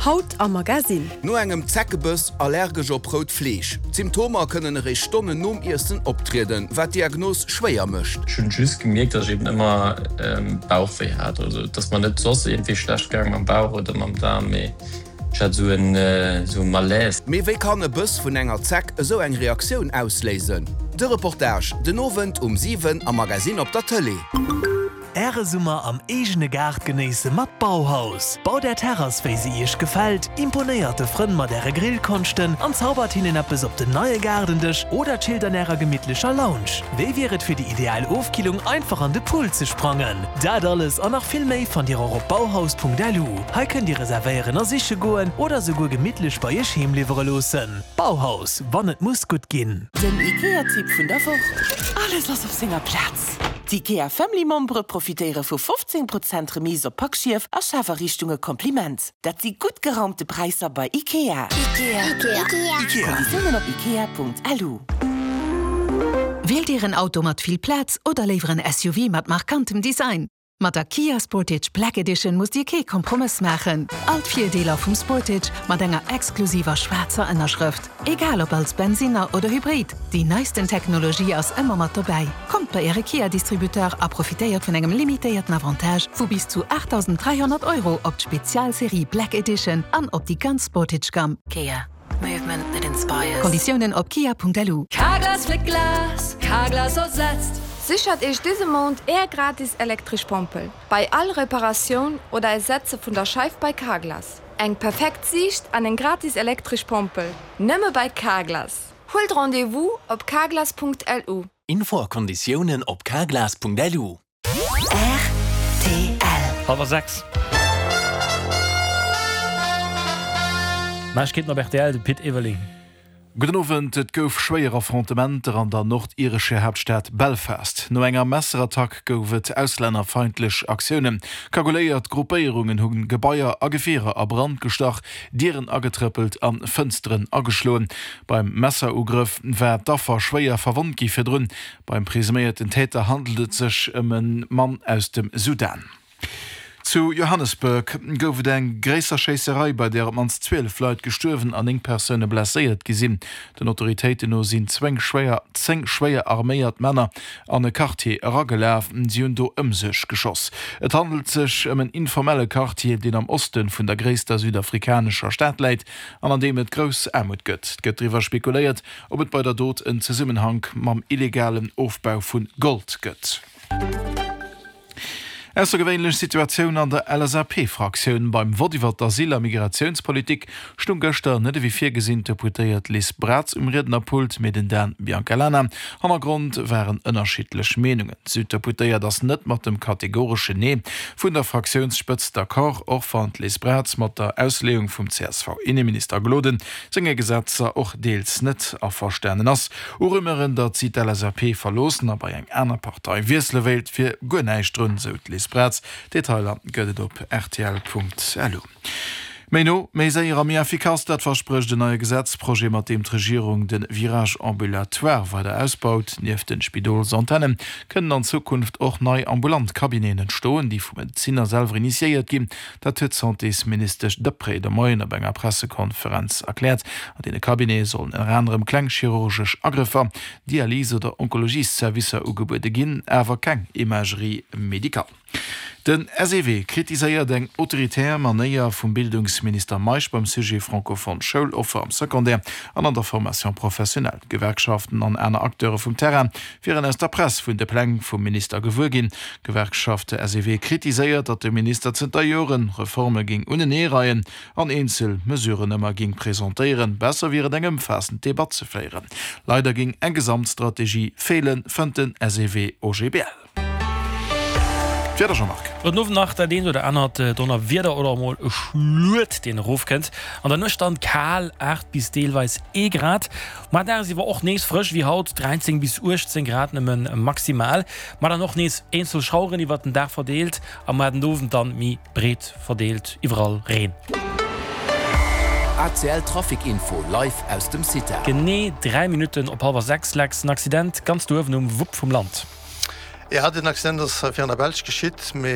Haut am Magasinn. No engem Zeckebëss allergesch op rout Fleesch. D'Symptomer kënnen eréischt Stonnen nom Iessen optrieden, wat d'Diagnos schwéier mécht. Ech hunn just gemierkt, dass ech eben ëmmer Bauchwéi hat. Also et ass mer net soss iergendwéi schlecht gaang mam Bauch oder mam Daarm, mee ech hat esou en esou e Malaise. Mee wéi kann e Bëss vun enger Zeck esou eng Reaktioun ausléisen? De Reportage den Owend um 7 am Magasinn op der Tëlee. Äre Summer am eegene Gaart genéisse mat Bauhaus. Baut är Terrass wéi se iech gefält, imponéiert de Frënn mat äre Grillkonschten an zaubert hinnen eppes op den neie Gaardendësch oder chillt an ärer gemittlecher Lounge. Wéi wier et fir déi ideal Ofkillung einfach an de Pool ze sprangen? Dat alles an nach vill méi fannt dir och op bauhaus.lu. Hei kënnt dir reservéieren a siche goen oder souguer gemittlech bei iech heem liwwere loossen. Bauhaus, wann et muss gutt ginn. Den IKEA-Tipp vun der Woch, Alles ass op senger Plaz! D'IKEA Family Membere profitéiere vu 15 Prozent Remise op Packschief a Schafariichtunge Kompliment. Dat si gutt geraumte Präisser bei IKEA. Konditiounen op ikea.lu. Wielt Dir en Auto mat vill Plaz oder léiwer en SUV mat markantem Design? Mat der Kia Sportage Black Edition musst Dir kee Kompromëss maachen. All d'Virdeeler vum Sportage mat enger exklusiver schwaarzer Ënnerschrëft. Egal ob als Bensinner oder Hybrid, déi neisten Technologie ass ëmmer mat dobäi. Kommt bei Äre Kia-Distributeur a profitéiert vun engem limitéierten Avantage vu bis zu 8.300 Euro op d'Spezialserie Black Edition an op déi ganz Sportage-Gamm. Kia. Movement that inspires. Konditiounen op kia.lu. Carglass fléckt Glas, Carglass ersetzt. Séchert Iech dëse Mount Är gratis elektresch Pompel bei all Reparatioun oder Ersetze vun der Scheif bei Carglass. Eng perfekt Siicht an eng gratis elektresch Pompel, nëmme bei Carglass! Huelt Rendez-vous op carglass.lu. Info a Konditiounen op carglass.lu. Rtl. Hallwer 6. Neiegkeeten op rtl, de Pit Everling. Gudden Owend. Et gouf schwéier Affrontementer an der nordirescher Haaptstad Belfast. No enger Messerattack gouf et auslännerfeindlech Aktiounen. Kaguléiert Gruppéierungen hu Gebaier a Gefierer a Brand gestach, Dieren agetrëppelt a Fënsteren ageschloen. Beim Messerugrëff war d'Affer schwéier verwonnt gi virdrun. Beim presuméierten Täter handelt et sech ëm e Mann aus dem Sudan. Zu Johannesburg gouf et eng gréisser Schéisserei, bei där op d'mannst 12 Leit gestuerwen an 9 Persoune blesséiert gi sinn. Den Autoritéiten no sinn zwéng schwéier 10 schwéier arméiert Männer an e Quartier eragelaf. Si hunn do ëm sech geschoss. Et handelt sech ëm en informelle Quartier, deen am Oste vun der gréisster südafrikanescher Stad läit an an deem et grouss Aarmut gëtt. Et gëtt driwwer spekuléiert, Ob et bei der Dot en Zesummenhank mam illegalen Ofbau vu Gold gëtt? Aussergewéinlech Situatioun an der LSAP-Fraktioun. Beim Vott iwwer d'Asyl a Migratiounspolitik stung gëschter net ewéi virgesinn d'Deputéiert Liz Braz um Riednerpult, mee den Dan Biancalana. Hannergrond waren ënnerschiddlech Meenungen. D'Süddeputéiert ass net mat dem kategoreschen Nee vun der Fraktiounsspëtzt d'accord, och wann d'Liz Braz mat der Ausleeung vum CSV-Inneminister Gloden senge Gesetzer och deels net averstanen ass. U Rumeuren, datt si d'LSAP verloossen a bei eng aner Partei wiessele wéilt, wier guer näischt drun, sou d'Liz Braz. Detailer gëtt et op rtl.lu. Méi no, méi séier a méi effikass, dat versprécht en neie Gesetzprojet, mat deem d'Regierung de Virage ambulatoire weider ausbaut. Nieft de Spidolsantenne kënnen an Zukunft och nei ambulant Cabineten entstoen, déi vu Medezinner selwer initiéiert ginn. Dat huet d'Santésministesch Deprez de Moien op enger Pressekonferenz erkläert. An deene Cabinete sollen ënner anerem kleng chirurgesch Agrëffer, Dialys oder Onkologiesservicer ugebuede ginn, awer keng Imagerie médicale. Den SEW kritiséiert eng autoritär Manéier vum Bildungsminister Meisch beim Sujet francophone Schouloffer am Secondaire an an der Formation professionnelle. D'Gewerkschaften an aner Acteure vum Terrain wieren aus der Press vun de Pläng vum Minister gewuer ginn. D'Gewerkschaft SEW kritiséiert, datt de Minister zënter Joren Reforme géing uneneereien an eenzel Mesuren ëmmer géing presentéieren. Besser wier et eng ëmfaassend Debatt ze féieren. Leider géing eng Gesamtstrategie feelen, fënnt den SEW-OGBL. D'Wieder, Jean-Marc. Gudden Owend nach dat eent oder anert Donnerwieder oder emol e Schluet, deen erofkënnt. An der Nuecht dann kal, 8 bis deelweis ee Grad. Mar dagsiwwer och nees frësch wéi haut, 13 bis 18 Grad nëmme maximal. Ma dann och nees eenzel Schaueren iwwert den Dag verdeelt a mar den Owend dann méi breet verdeelt iwwerall Reen. ACL Trafic Info live aus dem CITA. Genee 3 Minutten op hallwer 6 Lex, en Accident ganz do uewen um Wupp vum Land. Jo, den Accident ass virun der Belsch geschitt, mee.